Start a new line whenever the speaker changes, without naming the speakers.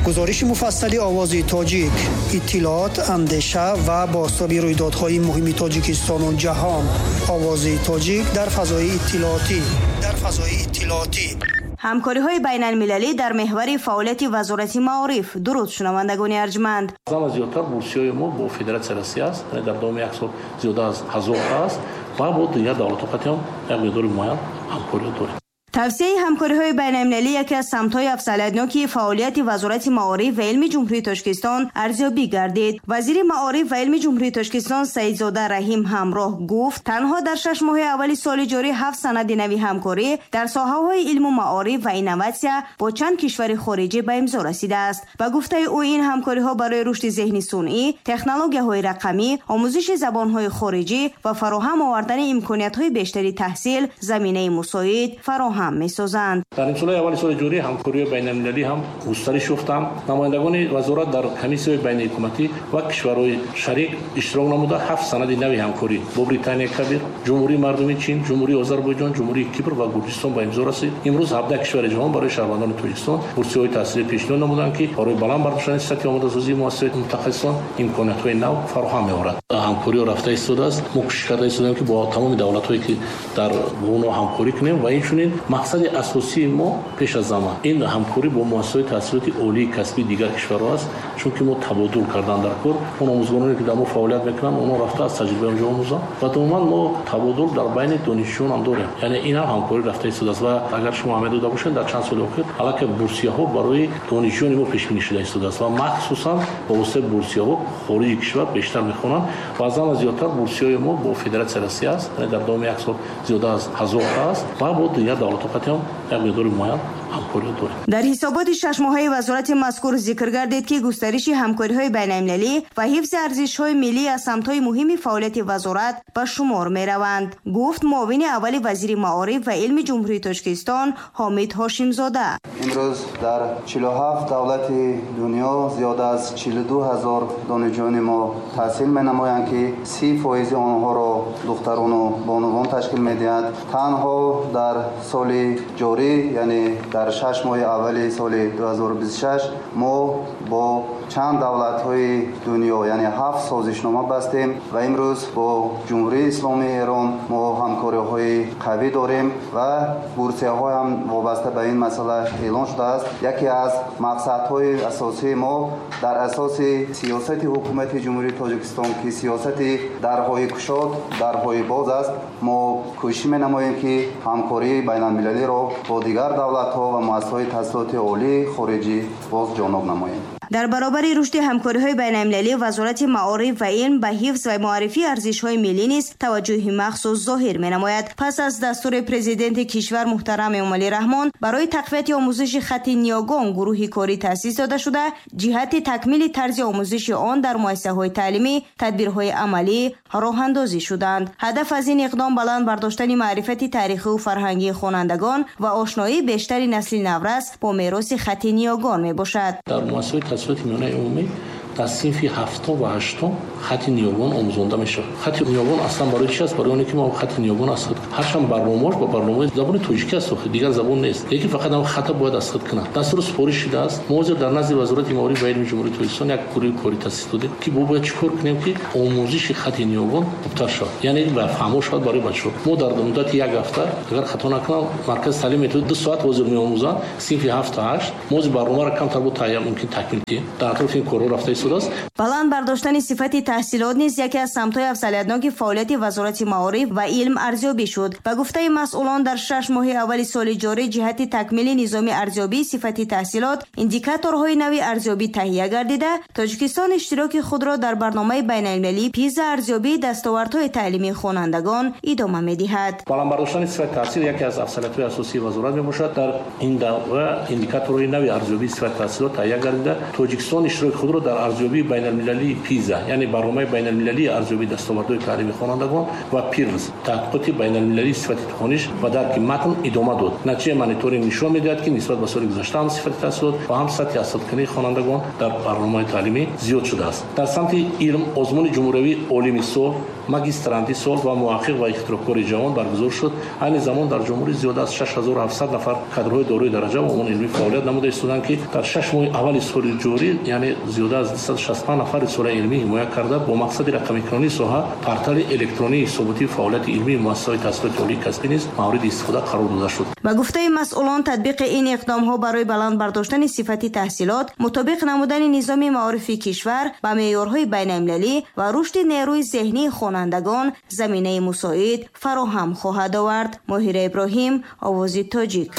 Гузориши муфассали Овози Тоҷик, иттилоот, андеша ва бозтоби рӯйдодҳои муҳими Тоҷикистону ҷаҳон. Овози Тоҷик дар фазои иттилоотӣ. Дар фазои иттилоотӣ.
Ҳамкориҳои байналмилалӣ дар меҳвари фаъолияти Вазорати маориф. Дуруд, шунавандагони арҷманд.
Зама зиёдтар бурсиҳои мо бо Федератсияи Россия аст, яъне дар давоми як сол зиёда аз 1000 аст ва бо дигар давлатҳо қатъиан як миқдори муайян ҳамкориҳо дорем.
Тавсияи ҳамкориҳои байналмилалӣ яке аз самтҳои афзалиятноки фаъолияти Вазорати маориф ва илми Ҷумҳурии Тоҷикистон арзёбӣ гардид. Вазири маориф ва илми Ҷумҳурии Тоҷикистон Саидзода Раҳим ҳамроҳ гуфт, танҳо дар 6 моҳи аввали соли ҷорӣ 7 санади нави ҳамкорӣ дар соҳаҳои илму маориф ва инноватсия бо чанд кишвари хориҷӣ ба имзо расидааст. Ба гуфтаи ӯ, ин ҳамкориҳо барои рушди зеҳни сунъӣ, технологияҳои рақамӣ, омӯзиши забонҳои хориҷӣ ва фароҳам овардани имкониятҳои бештари таҳсил заминаи мусоид фароҳам месозанд.
Дар нимсолаи аввали соли ҷорӣ ҳамкориҳои байналмилалӣ ҳам густариш ёфтанд. Намояндагони вазорат дар комиссияҳои байниҳукуматӣ ва кишварҳои шарик иштирок намуда 7 санади нави ҳамкорӣ бо Британияи Кабир, Ҷумҳурии Мардумии Чин, Ҷумҳурии Озарбойҷон, Ҷумҳурии Кипр ва Гурҷистон ба имзо расид. Имрӯз 17 кишвари ҷаҳон барои шаҳрвандони Тоҷикистон бурсиҳои таҳсилӣ пешниҳод намуданд, ки барои баланд бардоштани сатҳи омодасозии муассисаҳои мутахассисон имкониятҳои нав фароҳам меорад. Ҳамкориҳо рафта истодааст. Мо кӯшиш карда истодаем, ки бо тамоми давлатҳое ки дар онҳо ҳамкорӣ кунем ва инчунин мақсади асосии мо пеш аз замон ин ҳамкорӣ бо муассисаҳои таҳсилоти олии касбии дигар кишварҳо аст, чунки мо табодул кардан дар кор, он омӯзгороне ки дар мо фаъолият мекунанд, онҳо рафта аз таҷрибаи онҷо омӯзанд ва умуман мо табодул дар байни донишҷӯён ҳам дорем. Яъне ин ҳам ҳамкорӣ рафта истодааст ва агар шумо аҳамият дода бошед, дар чанд соли охир аллакай бурсияҳо барои донишҷӯёни мо пешбинӣ шуда истодааст ва махсусан ба воситаи бурсияҳо хориҷи кишвар бештар мехонанд ва аз ҳама зиёдтар бурсияҳои мо бо Федератсияи Россия аст, яъне дар давоми як сол зиёда аз 1000 аст ва бо дигар давлатҳо қатъиан як миқдори муайян ҳамкориҳо дорем.
Дар ҳисоботи 6 моҳаи вазорати мазкур зикр гардид, ки густариши ҳамкориҳои байналмилалӣ ва ҳифзи арзишҳои миллӣ аз самтҳои муҳими фаъолияти вазорат ба шумор мераванд, гуфт муовини аввали вазири маориф ва илми Ҷумҳурии Тоҷикистон Ҳомид Ҳошимзода.
Имрӯз дар 47 давлати дунё зиёда аз 42 ҳазор донишҷӯёни мо таҳсил менамоянд, ки 30% онҳоро духтарону бонувон ташкил медиҳанд. Танҳо дар соли ҷорӣ, яъне дар 6 моҳи аввали соли 2026 мо бо чанд давлатҳои дунё, яъне 7 созишнома бастем ва имрӯз бо Ҷумҳурии Исломии Эрон мо ҳамкориҳои қавӣ дорем ва бурсияҳо ҳам вобаста ба ин масъала эълон шудааст. Яке аз мақсадҳои асосии мо дар асоси сиёсати ҳукумати Ҷумҳурии Тоҷикистон, ки сиёсати дарҳои кушод, дарҳои боз аст, мо кӯшиш менамоем, ки ҳамкории байналмилалиро бо дигар давлатҳо ва муассисаҳои таҳсилоти олии хориҷӣ боз ҷоноб намоем.
Дар баробари рушди ҳамкориҳои байналмилалӣ, Вазорати маориф ва илм ба ҳифз ва муаррифии арзишҳои миллӣ низ таваҷҷӯҳи махсус зоҳир менамояд. Пас аз дастури президенти кишвар муҳтарам Эмомалӣ Раҳмон барои тақвияти омӯзиши хатти ниёгон гурӯҳи корӣ таъсис дода шуда, ҷиҳати такмили тарзи омӯзиши он дар муассисаҳои таълимӣ тадбирҳои амалӣ роҳандозӣ шуданд. Ҳадаф аз ин иқдом баланд бардоштани маърифати таърихию фарҳангии хонандагон ва ошноии бештари насли наврас бо мероси хатти ниёгон мебошад.
Дар муассисаҳои таҳсилоти миёнаи умумӣ дар синфи 7 ва 8 хатти ниёгон омӯзонда мешавад. Хатти ниёгон аслан барои чи аст? Барои оне ки мо хатти ниёгон аз худ ҳарчанд барномааш ба барномаи забони тоҷикӣ аст, дигар забон нест, лекин фақат ҳам хата бояд аз худ кунад. Дастуру супориш шудааст. Мо ҳозир дар назди Вазорати маориф ва илми Ҷумҳурии Тоҷикистон як гурӯҳи корӣ таъсис додем, ки мо бояд чӣ кор кунем, ки омӯзиши хатти ниёгон хубтар шавад, яъне ба фаҳмо шавад барои бачаҳо. Мо дар муддати як ҳафта, агар хато накунам, маркази таълим метавонад 2 соат ҳозир меомӯзанд синфи 7 та 8. Мо ҳозир барномаро камтар бо таҳия мумкин такмил диҳем. Дар атрофи ин корҳо рафта истодааст.
Баланд бардоштани сифати таҳсилот низ яке аз самтҳои афзалиятноки фаъолияти Вазорати маориф ва илм арзёбӣ шуд. Ба гуфтаи масъулон, дар 6 моҳи аввали соли ҷорӣ ҷиҳати такмили низоми арзёбии сифати таҳсилот индикаторҳои нави арзёбӣ таҳия гардида, Тоҷикистон иштироки худро дар барномаи байналмилалии ПИЗа арзёбии дастовардҳои таълимии хонандагон идома медиҳад.
Баланд бардоштани сифати таҳсил яке аз афзалиятҳои асосии вазорат мебошад. Дар ин давра индикаторҳои нави арзёбии сифати таҳсилот таҳия гардида, Тоҷикистон иштироки худро дар Арзёбии байналмилалии ПИЗА, яъне барномаи байналмилалии арзёбии дастовардҳои таълими хонандагон, ва ПИРЛС, таҳқиқоти байналмилалии сифати хониш ва дарки матн идома дод. Натиҷаи мониторинг нишон медиҳад, ки нисбат ба соли гузашта ҳам сифати таҳсилот ва ҳам сатҳи азхудкунии хонандагон дар барномаи таълимӣ зиёд шудааст. Дар самти илм озмуни ҷумҳуриявии олими сол, магистранти сол ва муҳаққиқ ва ихтироъкори ҷавон баргузор шуд. Айни замон дар ҷумҳурӣ зиёда аз 6700 нафар кадрҳои дорои дараҷа ва унвони илмӣ фаъолият намуда истоданд, ки дар 6 моҳи аввали соли ҷорӣ, яъне зиёда аз 265 нафар рисолаи илмӣ ҳимоя карда, бо мақсади рақамикунонии соҳа портали электронии ҳисоботии фаъолияти илмии муассисаҳои таҳсилоти олии касбӣ низ мавриди истифода қарор дода шуд.
Ба гуфтаи масъулон, татбиқи ин иқдомҳо барои баланд бардоштани сифати таҳсилот, мутобиқ намудани низоми маорифи кишвар ба меъёрҳои байналмилалӣ ва рушди нерӯи зеҳнии хонандагон заминаи мусоид фароҳам хоҳад овард. Моҳира Иброҳим, Овози Тоҷик.